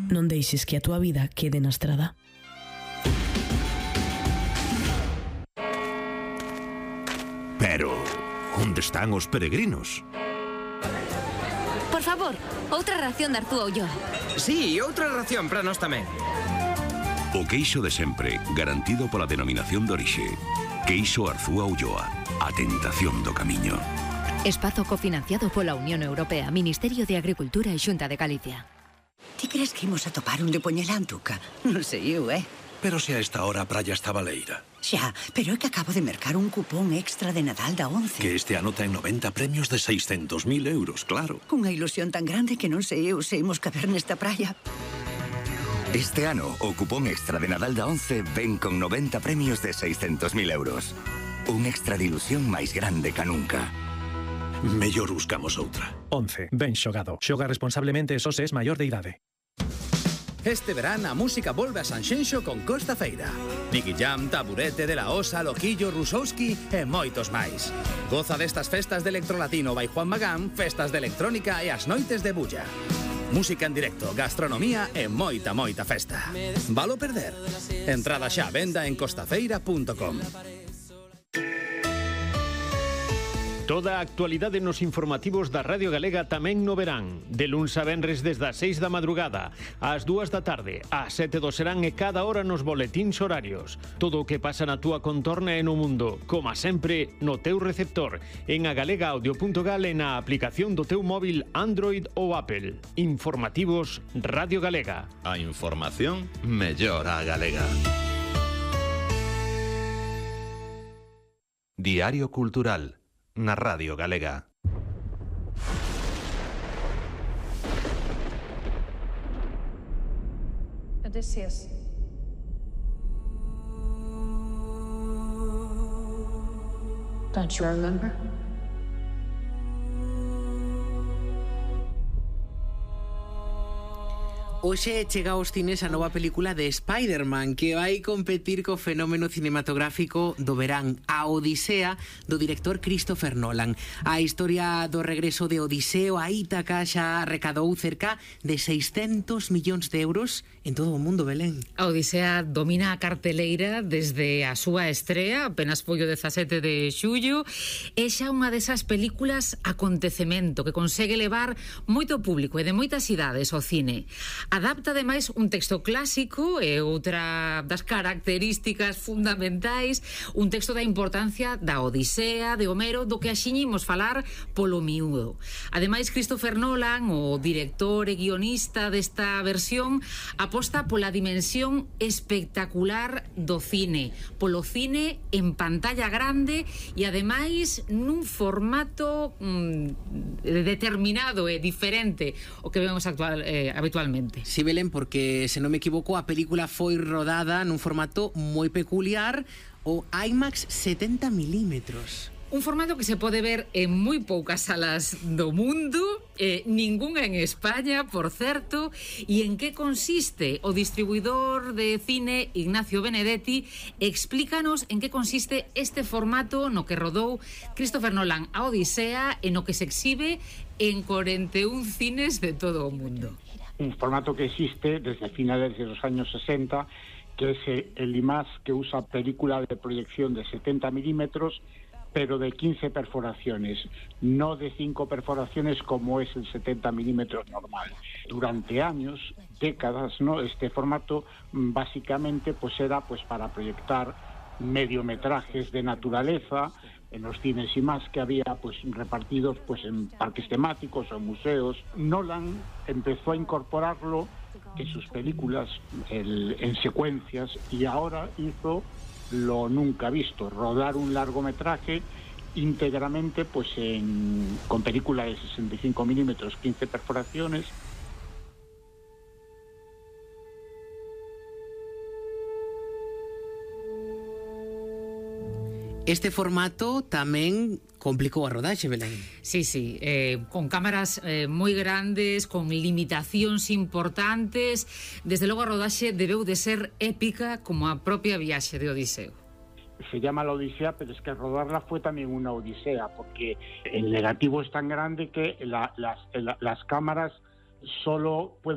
Non deixes que a túa vida quede na estrada. Pero, onde están os peregrinos? Por favor, outra ración de Arzúa Ulloa. Sí, outra ración para nós tamén. O queixo de sempre, garantido pola denominación de orixe. Queixo Arzúa Ulloa, a tentación do camiño. Espazo cofinanciado pola Unión Europea, Ministerio de Agricultura e Xunta de Galicia. Ti crees que imos a topar un de Poñelantuca? Non sei eu, Pero se a esta hora a praia está baleira. Xa, pero é que acabo de mercar un cupón extra de Nadal da 11. Que este ano ten 90 premios de 600.000 euros, claro. Cunha ilusión tan grande que non sei eu se imos caber nesta praia. Este ano, o cupón extra de Nadal da 11 ven con 90 premios de 600.000 euros. Un extra de ilusión máis grande ca nunca. Mellor buscamos outra. 11. Ben xogado. Xoga responsablemente e só se es maior de idade. Este verán a música volve a Sanxenxo con Costa Feira. Nicky Jam, Taburete, De La Osa, Loquillo, Rusowski e moitos máis. Goza destas festas de electrolatino by Juan Magán, festas de electrónica e as noites de bulla. Música en directo, gastronomía e moita festa. Valo perder? Entrada xa a venda en costafeira.com. Toda a actualidade nos informativos da Radio Galega tamén no verán. De luns a venres desde as 6 da madrugada, ás 2 da tarde, ás 7 do serán e cada hora nos boletíns horarios. Todo o que pasa na túa contorna e no mundo, como sempre, no teu receptor, en agalegaudio.gal e na aplicación do teu móvil Android ou Apple. Informativos Radio Galega. A información mellor a galega. Diario Cultural na Radio Galega. Odysseus. Don't you remember? Hoxe chega aos cines a nova película de Spider-Man que vai competir co fenómeno cinematográfico do verán, A Odisea, do director Christopher Nolan. A historia do regreso de Odiseo a Ítaca xa recadou cerca de 600 millóns de euros en todo o mundo, Belén. A Odisea domina a carteleira desde a súa estrea, apenas foi o 17 de xullo, é xa unha desas películas acontecemento que consegue levar moito público e de moitas idades ao cine. Adapta, ademais, un texto clásico e outra das características fundamentais, un texto da importancia da Odisea, de Homero, do que axiñimos falar polo miúdo. Ademais, Christopher Nolan, o director e guionista desta versión, aposta pola dimensión espectacular do cine, polo cine en pantalla grande e, ademais, nun formato determinado e diferente o que vemos habitualmente. Si, Belén, porque, se non me equivoco, a película foi rodada nun formato moi peculiar, o IMAX 70 milímetros. Un formato que se pode ver en moi poucas salas do mundo, ningunha en España, por certo. E en que consiste? O distribuidor de cine Ignacio Benedetti explícanos en que consiste este formato no que rodou Christopher Nolan a Odisea e no que se exhibe en 41 cines de todo o mundo. Un formato que existe desde finales de los años 60, que es el IMAX, que usa película de proyección de 70 milímetros, pero de 15 perforaciones, no de 5 perforaciones como es el 70 milímetros normal. Durante años, décadas, ¿no? Este formato básicamente pues era pues para proyectar mediometrajes de naturaleza en los cines y más que había pues repartidos pues en parques temáticos o museos. Nolan empezó a incorporarlo en sus películas en secuencias y ahora hizo lo nunca visto, rodar un largometraje íntegramente pues con película de 65 milímetros, 15 perforaciones. Este formato tamén complicou a rodaxe, Belén. Sí, con cámaras moi grandes, con limitacións importantes. Desde logo a rodaxe debeu de ser épica como a propia viaxe de Odiseo. Se llama la Odisea, pero es que rodarla fue también una odisea, porque el negativo es tan grande que las cámaras solo pueden